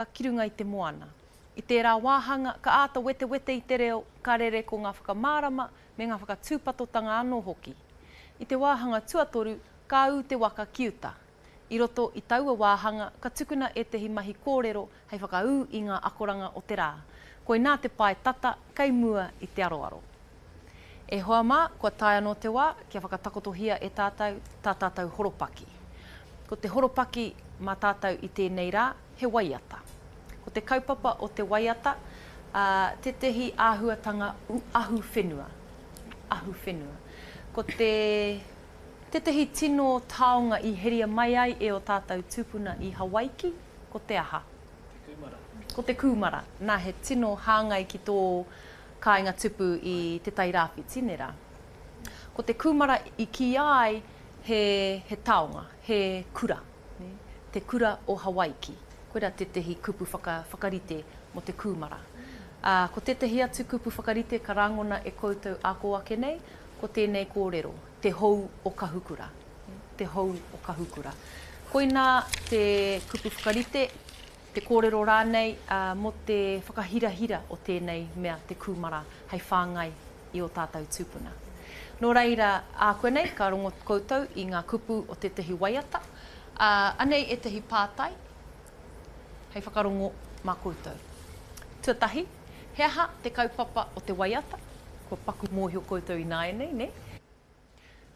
Ki runga i te moana. I tērā wāhanga, ka āta wetewete i te reo, ka rere ko ngā whakamārama me ngā whakatūpatotanga anō hoki. I te wāhanga tuatoru, ka ū te waka ki uta. I roto i taua wāhanga, ka tukuna ētehi mahi kōrero hei whakaū i ngā akoranga o te rā. Koinā te pae tata kei mua i te aroaro. E hoa mā, kua tae anō te wā kia whakatakotohia e tātou tā tātou horopaki. Ko te horopaki mā tātou i tēnei rā, he waiata. Ko te kaupapa o te waiata, ā, tētehi āhuatanga ahuwhenua. Ahuwhenua. Ko te, tētehi tino taonga i heria mai ai e ō tātou tūpuna i Hawaiki, ko te aha? Te kūmara. Ko te kūmara. Nā, he tino hāngai ki tō kāinga tupu i Te Tai Rāwhiti, nē rā. Ko te kūmara i kīia ai he, he taonga, he kura, nē, te kura o Hawaiki. Koirā tētehi kupu whaka, whakarite mō te kūmara. Ā, ko tētehi atu kupu whakarite ka rangona e koutou ā kō ake nei, ko tēnei kōrero, te hou o Kahukura, te hou o Kahukura. Koinā te kupu whakarite te kōrero rānei mō te whakahirahira o tēnei mea te kūmara hei whāngai i ō tātou tūpuna. Nō reira, ākuanei ka rongo koutou i ngā kupu o tētahi waiata, ā, anei ētahi pātai hei whakarongo mā koutou. Tuatahi, he aha te kaupapa o te waiata? Kua paku mōhio koutou ināianei, nē?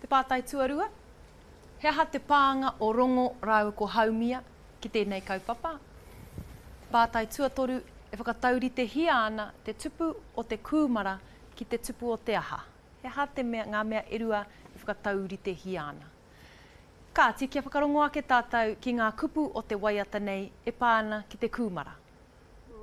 Te pātai tuarua, He aha te pānga o Rongo rāua ko Haumia ki tēnei kaupapa? Te pātai tuatoru, E whakatauritehia ana te tupu o te kūmara ki te tupu o te aha? He aha te mea, ngā mea e rua e whakatauritehia ana? Kāti, kia whakarongo ake tātou ki ngā kupu o te waiata nei e pā ana ki te kūmara.